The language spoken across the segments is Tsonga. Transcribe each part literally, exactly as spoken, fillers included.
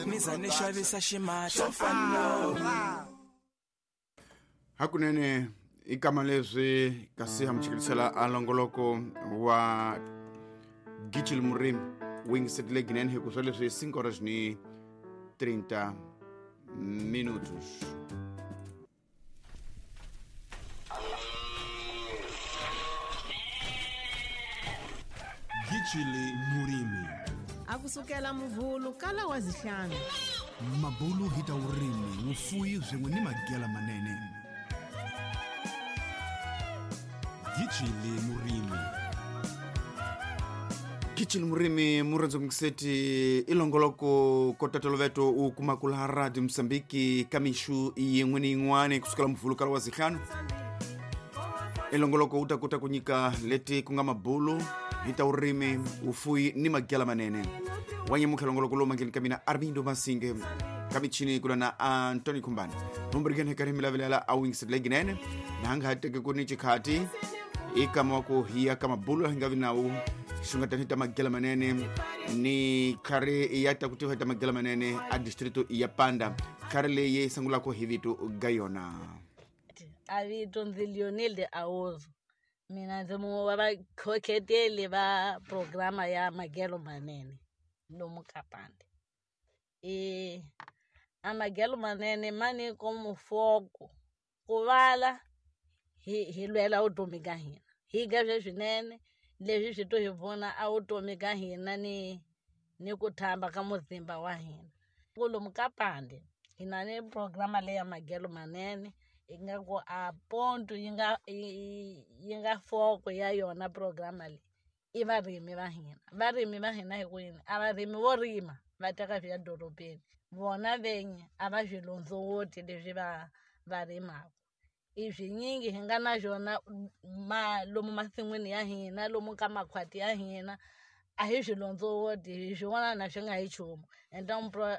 Ni za ni xavisa ximahla hakunene i kama leswi kasi hamuchikilisela a longoloko wa Gichil Murimi wingisetile ginene hi ku swa leswi cinco horas ni trinta minutos. Gichili Murimi akusukela muvhulu kala wa zihlanu mabulu hita urimi wufuyi swin'we ni magela manene. Gichili Murimi Gichili Murimi murenzo mkiseti ilongoloko kotatoloveto u kumakula Radio Msambiki kamishu yin'we ni yin'wana kusukela muvhulu kala wa zihlanu ilongoloko utakuta kunyika leti kunga mabulu hita urimi ufuyi ni magela manene wanyemuka longoloko lo mangeni kamina Armindo Masinge kamichini kula na Antoni Kumbani nombrigene karimi lavelela awingisetile na hanga hateke kuni chikhati ikama ku hiya kama bulu hingavi nawu xungatani ta magela manene ni khari ya ta kutiwa ta magela manene a distrito ya Panda khari leyi sangulako hi vito ga yona a vito ndzi Lionel de Aozo mina ndzi mungwe wa vakhokheteli va programa ya magelo manene lomu ka Panda. E a magelo manene mani como foco ku vala hi hi lwela vutomi ka hina hi ga swinene leswi swi to hi pfuna a vutomi ka hina ni ni ku thamba ka muzimba wa hina ku lomu ka Panda hi na ni programa leya magelo manene yi nga ku a ponto yi nga yi nga foko ya yona programa leyi i varimi va hina varimi va hina hi ku yini a varimi vo rima va teka swi ya dorobeni vona venyi a va swi londzowoti leswi va va rimaka i swinyingi hi nga na swona ma lomu masin'wini ya hina lomu ka makhwati ya hina a hi swi londzowoti hi swi vona na swi nga hi nchumu ende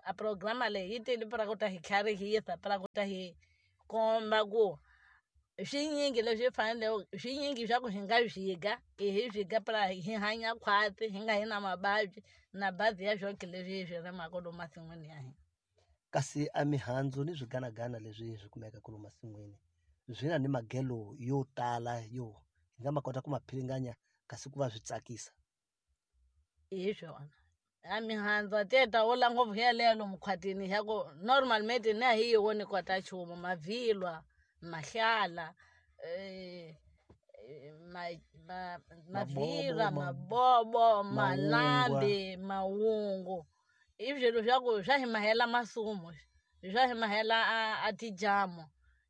a programa leyi yi tele pra ku ta hi tlharihisa pra ku ta hi komba ku swinyingi leswi fanele swinyingi swa ku hi nga swiga i hi swiga pra hi hanya khwati hi nga hi na mavabyi na bazi ya swonke leswi hi swi rimaka lomu masin'wini ya hina. Kasi a mihandzu ni swiganagana leswi swi kumekaka lomu masin'wini swi na ni magelo yo tala yo hi nga ma kota ku ma philinganya kasi ku va swi tsakisa hi swona a mihandzu a teta wo la ngopfu yaleyo lomu khwatini ya ku normal mate na hi yi voni kota nchumu mavhilwa mahlala eh, ma, ma, mavhilwa mabobo malambi mawungu i swilo swa ku swa hi mahela masumu swa hi mahela a, a tijamu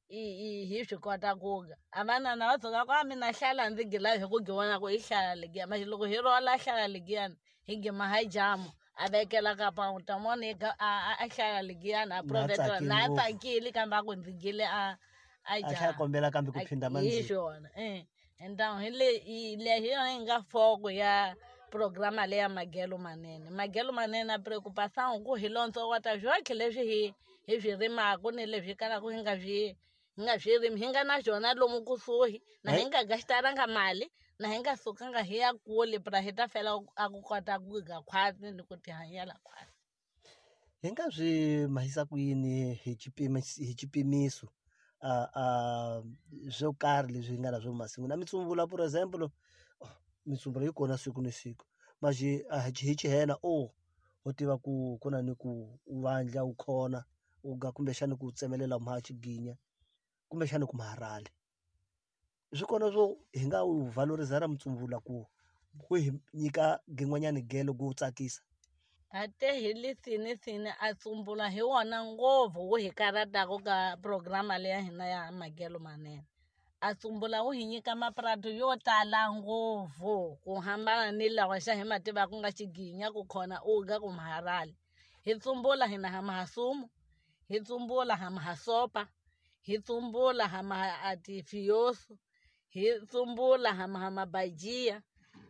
i i hi swi kota ku ga a vanana va tshuka ku a mina hlala ndzi gila hi ku giwona ku i hlala legiya manje loko hi rola hlala legiyani hi gima ha jamu a vekela ka pa ta mona a a hlala legiyani a provetela na tsakile kambe a ku ndzi gile a a a tlhela kombela kambe ku phinda hi manzi swona eh enda hi le le hi yona yi nga foko ya programa leya magelo manene magelo manene a preocupação ku hi lontsowota swonke leswi hi hi swi rimaka ni leswi kalaka hi nga swi hi nga swi rimi hi nga na swona lomu kusuhi na hi nga gastaranga mali na hi nga sukanga hi ya kule pra hi ta fela a ku kota ku ga khwati ni ku tihanyela khwati. Hi nga swi mahisa ku yini hi xipimo hi xipimiso a a swo karhi leswi hi nga na swo masin'wini na mitsumbula for example mitsumbula yi kona siku ni siku manje a hi xihena o ho tiva ku ku na ni ku u vandla u khona u ga kumbexani ku tsemelela mha xiginya kumbexani ku maharali swi kona swo hi nga wu valoriza ra mutsumbula ku ku hi nyika gin'wanyani gelo ku tsakisa a te hi lisini sini a tsumbula hi wona ngopfu wu hi karhataka ka programa leya hina ya magelo manene a tsumbula wu hi nyika maprato yo tala ngopfu ku hambana ni lawa xa hi ma tivaka ku nga xiginya ku khona u ga ku maharali hi tsumbula hina ha mahasumu hi tsumbula ha mahasopa hi tsumbula ha maha tifioso hi tsumbula ha maha mabajia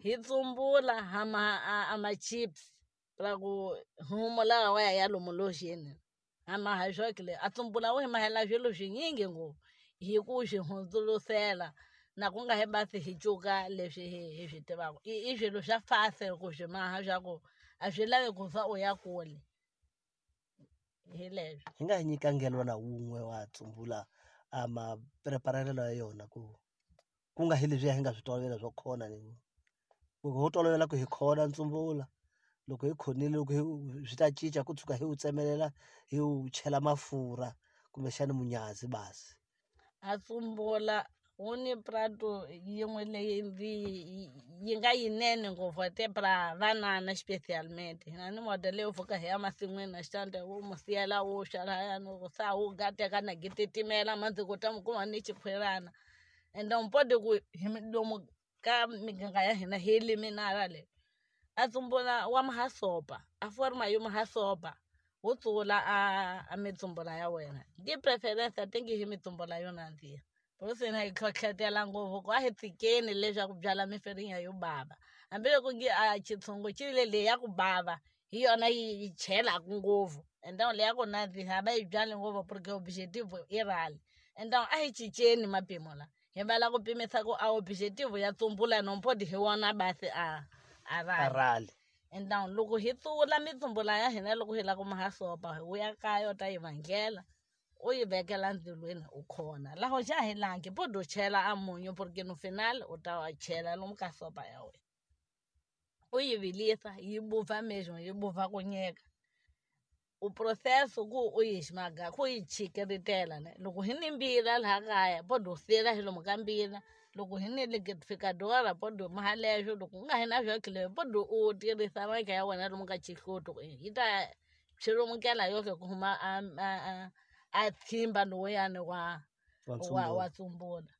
hi tsumbula ha maha a ma-chips ra ku humo lawa wa ya ya lomu loxeni ha maha swokile a tsumbula wu hi mahela swilo swinyingi ngopfu hi ku swi hundzulusela na ku nga hi basi hi cuka leswi hi hi swi tivaka i i swilo swa fasi ku swi maha swa ku a swi lavi ku fa u ya kule. Hi leswo. Hi nga hi nyika ngelwana wun'we wa tsumbula a mapreparelelo ya yona ku ku nga hi leswiya hi nga swi tolovela swo khona ni ku ho tolovela ku hi khona ntsumbula loko hi khonile loko hi swi ta cinca ku tshuka hi wu tsemelela hi wu chela mafurha kumbexani munyazi basi. A tsumbula wu ni prato yin'we leyi ndzi yi nga yinene ngopfu te pra vanana specialmente. Hina ni moda leyo pfuka hi ya masin'wini na xitandi wu mu siyela wu xa lahayani ku sa wu gateka na gititimela mandzi ku ta mu kuma ni xikhwirana. Ende u pode ku hi lomu ka miganga ya hina hi liminara le. A tsumbula wa mahasopa, a forma yo mahasopa. Wu tsula a a mitsumbula ya wena. Di preference a tingi hi mitsumbula yo nandziha. Por isso hina hi hlohletela ngopfu ku a hi tshikeni leswaku byala mifirinya yo bava. Hambiloko nge a xitshungu xi le leyi ya ku bava hi yona yi yi chelaka ngopfu. Ende leyi ya ku nandziha va yi byali ngopfu porque objective i rali. Ende a hi cinceni mapimo la. Hi vala ku pimisa ku a objective ya tsumbula no mpodi hi wona basi a a rali. A rali. Ende loko hi tsula mitsumbula ya hina loko hi lava ku mahasopa hi vuya kaya u ta yi vangela. U yi vekela ndzilweni u khona. Laho xa hi langi podo chela a munyu porque no final u ta wa chela lomu ka sopa ya wena. U yi vilisa yi vupfa mesmo yi vupfa ku nyeka. U processo ku u yi ximaga ku yi chikeritela ne. Loko hi ni mbila laha kaya podo sila hi lomu ka mbila. Loko hi ni liquidificadora podo maha leswo loko u nga hi na swakile podo u tirhisa maka ya wena lomu ka xihluto yi ta xirumukela yohle ku huma a a a tshimba lowuyani wa wa wa tsumbula.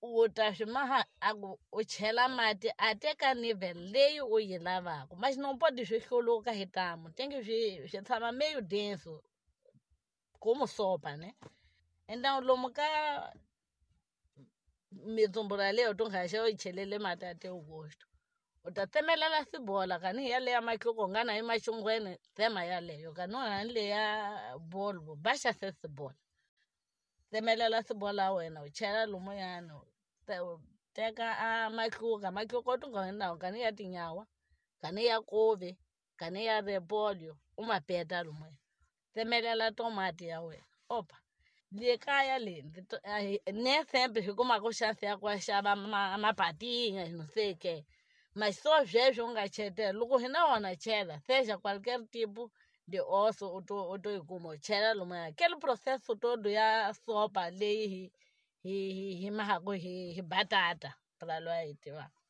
U ta swi maha a ku u chela mati a teka level leyi u yi lavaka. Mas não pode swi hluluka hi tamu tenge swi swi tshama meio denso como sopa né. Então lomu ka mitsumbula leyo to nga xa u yi chelele mati a te u gosto. U ta tsemelela sibola kani hi yaleya matluka u nga na yi maxungweni tsema yaleyo kani u nga ni leya bolvo baxa se sibola. Tsemelela sibola ya wena u chela lumuyani u teka a matluka matluka u tinga nawo kani ya tinyawa kani ya kovi kani ya repolyo u ma peta lumuya. Tsemelela tomati ya wena opa. Le kaya le nem sempre hi kumaka chance ya ku ya xava mapatinha não sei o quê. Mas só sweswo u nga chetela loko hi na wona chela seja qualquer tipo de osso u to u to yi kuma u chela lomuya. Aquele processo todo ya sopa leyi hi hi hi hi mahaka hi hi batata pra loyi a yi tivaka.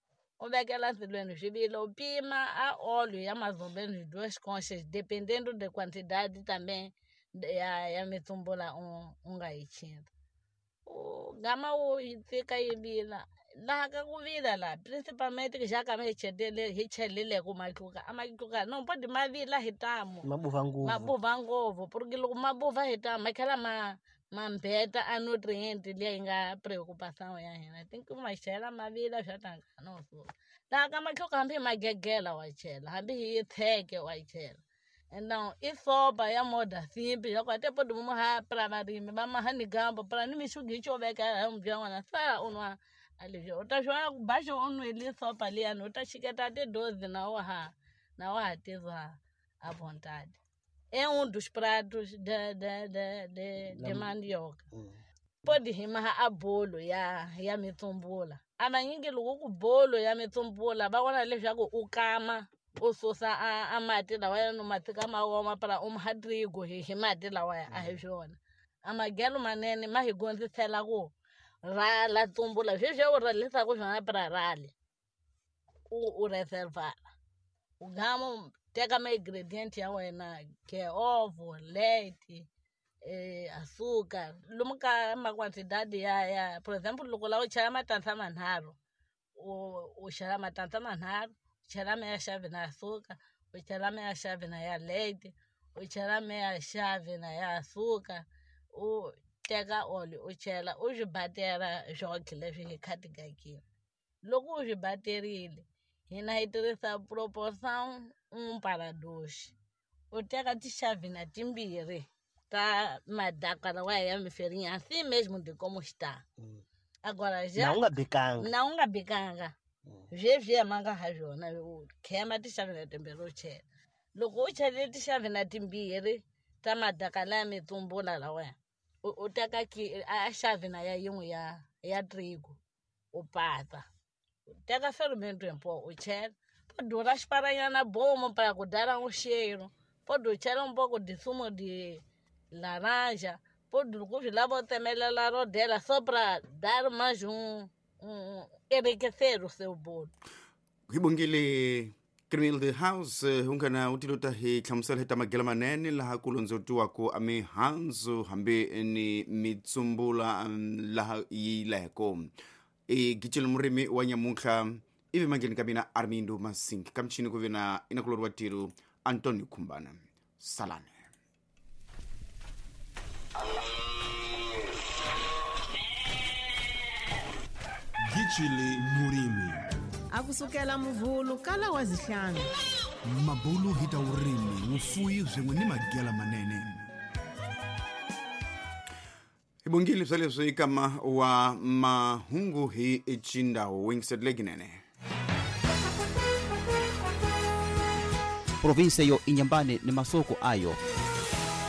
U vekela ndzilweni swi vila u pima a óleo ya mais ou menos duas conchas dependendo da quantidade também ya ya mitsumbula u u nga yi chela. U gama u yi tshika yi vila. Laha ka ku vila laha principalmente xa ka hi chelele hi cheleleke matluka a matluka no pode ma vila hi tamu. Ma vupfa ngopfu. Ma vupfa ngopfu porque loko ma vupfa hi tamu ma tlhela ma ma mbeta a nutrient liya yi nga preocupação ya hina. Think ma chela ma vila swa tanga no suka. Laha ka matluka hambi hi magegela wa chela hambi hi tsheke wa chela. Então i sopa ya moda simples ya ku até pode maha pra varimi va maha ni gamba pra ni mixugi xo veka hi bya n'wana sa u nwa alivyo u ta xona ku baxa u nwile sopa liyani u ta xiketa ti-dose na wa ha na wa ha tizwa à vontade. É um dos pratos de de de de, de mandioca. Pode rimar a bolo ya ya mitsumbula. A vanyingi loko ku bolo ya mitsumbula va vona leswaku u kama u susa a, a mati lawaya no ma tshika ma oma para u maha trigo hi hi mati lawaya a hi swona. A magelo manene ma hi gondzisela ku rala tsumbula sweswi u ralisaka swona para rali u u reservara. U gama u teka ma-ingredient ya wena ke ovo, leite, eh, açúcar lomu ka ma quantidade ya ya por exemplo loko la u chela matandza manharhu u u chela matandza manharhu u chela meia chave na açúcar u chela meia chave na ya leite u chela meia chave na ya açúcar u teka óleo u chela u swi batela swonke leswi hi khatigakile. Loko u swi baterile hina hi tirhisa proporção um para dois. U teka tixavina timbirhi ta madaka lawa ya miferinya assim mesmo de como está. Agora já Na u nga bikanga. Na u nga bikanga. Sweswiya ma nga ha swona u khema tixavina timbirhi u chela. Loko u chele tixavina timbirhi Ta madaka laya mitsumbula lawaya. U, u teka ki a xavina ya yin'we ya ya trigo u pata. U teka fermento em pó u chela. Pode raspar na bomba para dar um cheiro. Pode chela um pouco de sumo de laranja. Pode lá botar melhor rodela só para dar mais um, um enriquecer o seu bolo. Hi bongile Criminal House ungana utilota hi hlamusela hi ta magela manene laha ku londzolotiwaka a mihandzu hambi ni mitsumbula laha yi leko i gicile murimi wa nyamuntlha ivi mangheni ka mina Armindo Masink ka michini ku ve na inakulori wa tiro Antonio Khumbana salane. Gicile murimi akusukela muvhulu kala wa zihlanu mabulu hi ta vurimi vufuwi swin'we ni magela manene. Hi bongile swa leswi kama wa mahungu hi xindawu Wingsted Leginene. Provinsia yo Inhambane ni masoko ayo.